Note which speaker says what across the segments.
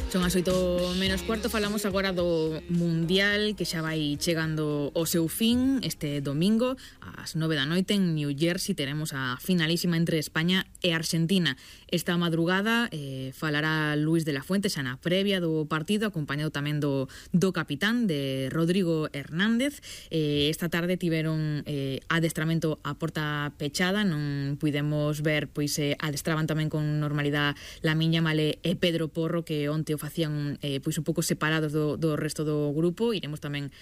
Speaker 1: Son as 8:45, falamos agora do Mundial que xa vai chegando ao seu fin. Este domingo, ás 9 da noite, en New Jersey, teremos a finalísima entre España e Argentina. Esta madrugada falará Luis de la Fuente xa na previa do partido, acompañado tamén do capitán, de Rodrigo Hernández. Esta tarde tiveron adestramento a porta pechada, non pudemos ver, pois adestraban tamén con normalidade Lamine Yamal e Pedro Porro, que onte o facían pois un pouco separados do resto do grupo. Iremos tamén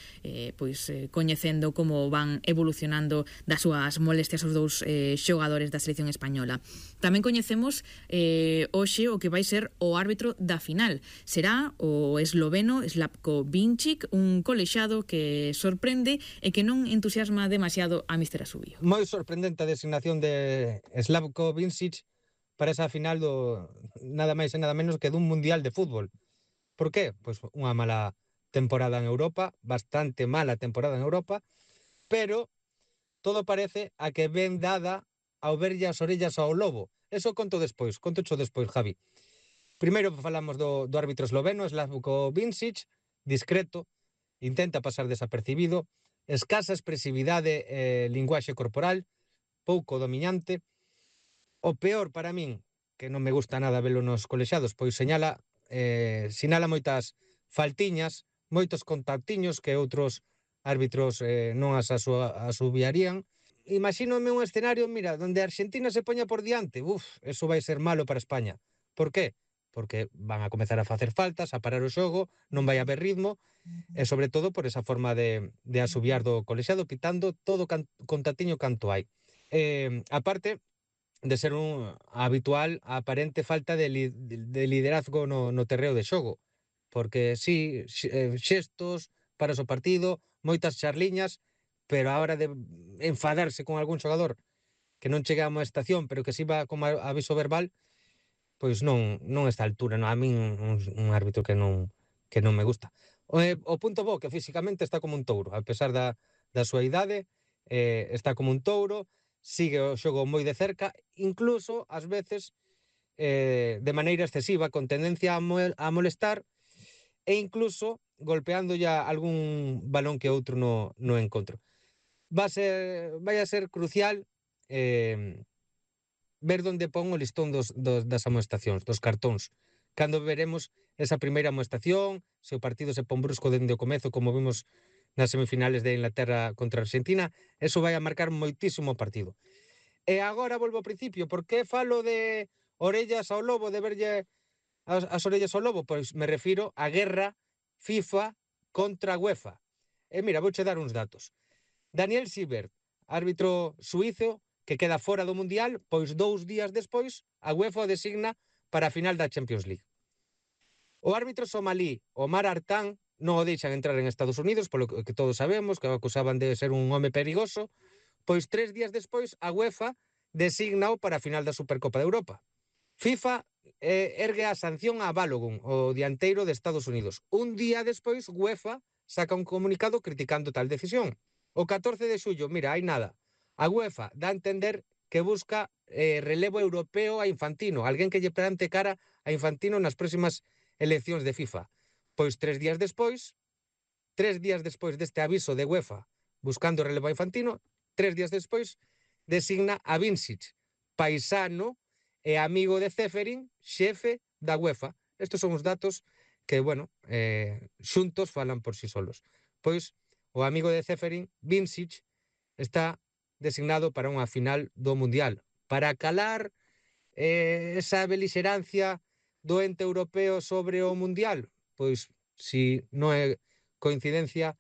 Speaker 1: coñecendo como van evolucionando das súas molestias os dous xogadores da selección española. Tamén coñecemos hoxe o que vai ser o árbitro da final. Será o esloveno Slavko Vincic, un colexado que sorprende e que non entusiasma demasiado a Míster Asubio.
Speaker 2: Moi sorprendente a designación de Slavko Vincic para esa final do nada máis e nada menos que dun mundial de fútbol. Por qué? Pois unha mala temporada en Europa, bastante mala temporada en Europa, pero todo parece a que ven dada ao verlle as orellas ao lobo. Eso conto despois, Javi. Primeiro falamos do árbitro esloveno, Slavko Vincic, discreto, intenta pasar desapercibido, escasa expresividade e linguaxe corporal, pouco dominante. O peor para min, que non me gusta nada velo nos colexados, pois sinala moitas faltiñas, moitos contactiños que outros árbitros non as asubiarían. Imagínome un escenario, mira, donde Argentina se poña por diante. Eso vai ser malo para España. Por qué? Porque van a comezar a facer faltas, a parar o xogo, non vai haber ritmo, e sobre todo por esa forma de asubiar do colexado, quitando todo contactiño canto hai. Aparte de ser un habitual a aparente falta de liderazgo no terreo de xogo, porque sí, xestos para o partido, moitas charliñas, pero a hora de enfadarse con algún xogador que non chega a unha estación, pero que si va como aviso verbal, pois non está a altura. A min un árbitro que non me gusta. O punto bo, que físicamente está como un touro, a pesar da súa idade, está como un touro, sigue o xogo moi de cerca, incluso, ás veces, de maneira excesiva, con tendencia a molestar, e incluso golpeando ya algún balón que outro no encontro. Vai a ser crucial ver onde pon o listón das amoestacións, dos cartóns. Cando veremos esa primeira amoestación, se o partido se pon brusco dende o comezo, como vimos nas semifinales de Inglaterra contra Argentina, eso vai a marcar moitísimo o partido. E agora volvo ao principio. Por que falo de orellas ao lobo, de verlle as orellas ao lobo? Pois me refiro á guerra FIFA contra UEFA. E mira, vouche dar uns datos. Daniel Siebert, árbitro suízo, que queda fora do Mundial, pois 2 días despois a UEFA o designa para a final da Champions League. O árbitro somalí Omar Artan non o deixan entrar en Estados Unidos, polo que todos sabemos, que o acusaban de ser un home perigoso, pois 3 días despois a UEFA designao para a final da Supercopa de Europa. FIFA ergue a sanción a Balogun, o dianteiro de Estados Unidos. Un día despois, UEFA saca un comunicado criticando tal decisión. O 14 de xullo, mira, hai nada. A UEFA dá a entender que busca relevo europeo a Infantino, alguén que lle plante cara a Infantino nas próximas eleccións de FIFA. Pois 3 días despois deste aviso de UEFA buscando relevo a Infantino, 3 días despois designa a Vincic, paisano e amigo de Ceferin, xefe da UEFA. Estes son os datos que, xuntos falan por sí solos. Pois o amigo de Ceferin, Vincic, está designado para unha final do Mundial. Para calar esa belixerancia do ente europeo sobre o Mundial, pois, si non é coincidencia,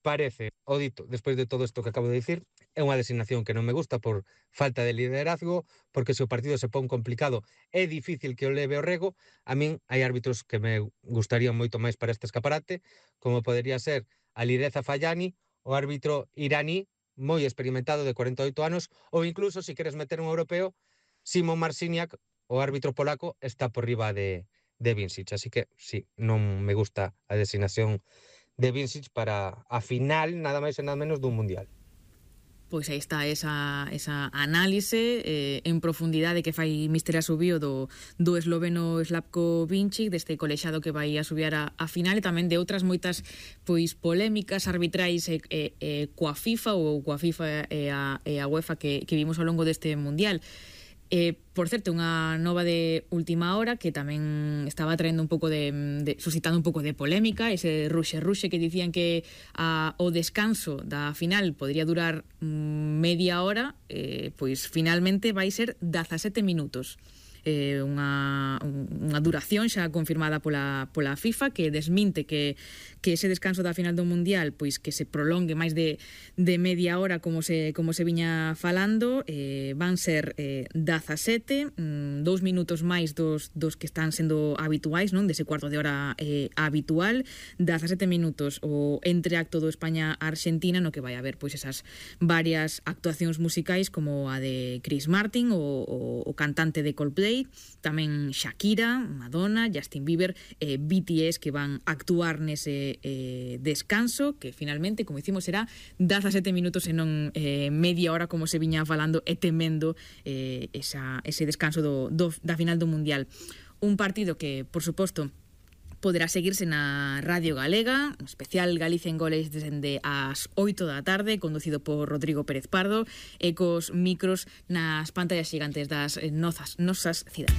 Speaker 2: parece, o dito, despois de todo isto que acabo de dicir, é unha designación que non me gusta por falta de liderazgo, porque se o partido se pon complicado é difícil que o leve o rego. A min hai árbitros que me gustarían moito máis para este escaparate, como podería ser Alireza Fayani, o árbitro iraní, moi experimentado, de 48 anos, ou incluso, se queres meter un europeo, Simon Marciniak, o árbitro polaco, está por riba de Vincic. Así que, sí, non me gusta a designación de Vincic para a final, nada máis e nada menos, dun Mundial.
Speaker 1: Pois aí está esa análise en profundidade que fai Mister Asubío do esloveno Slavko Vinčić, deste colexado que vai a subir a final, e tamén de outras moitas pois polémicas arbitrais coa FIFA ou coa FIFA e a UEFA que vimos ao longo deste Mundial. Por certo, unha nova de última hora que tamén estaba traendo un pouco suscitando un pouco de polémica, ese ruxe que dicían que o descanso da final podría durar media hora, pois finalmente vai ser 17 minutos. Unha duración xa confirmada pola FIFA, que desminte que ese descanso da final do Mundial pois que se prolongue máis de media hora como se viña falando. Van ser 17, 2 minutos máis dos que están sendo habituais, non, dese cuarto de hora habitual, 17 minutos o entreacto do España-Argentina, no que vai haber pois esas varias actuacións musicais como a de Chris Martin, o cantante de Coldplay, tamén Shakira, Madonna, Justin Bieber, BTS, que van actuar nese descanso, que finalmente, como dicimos, será 17 minutos e non media hora como se viña falando e temendo ese descanso da final do Mundial. Un partido que, por suposto, poderá seguirse na Radio Galega, un especial Galicia en Goles desde as 8 da tarde, conducido por Rodrigo Pérez Pardo, e cos micros nas pantallas xigantes das nosas cidades.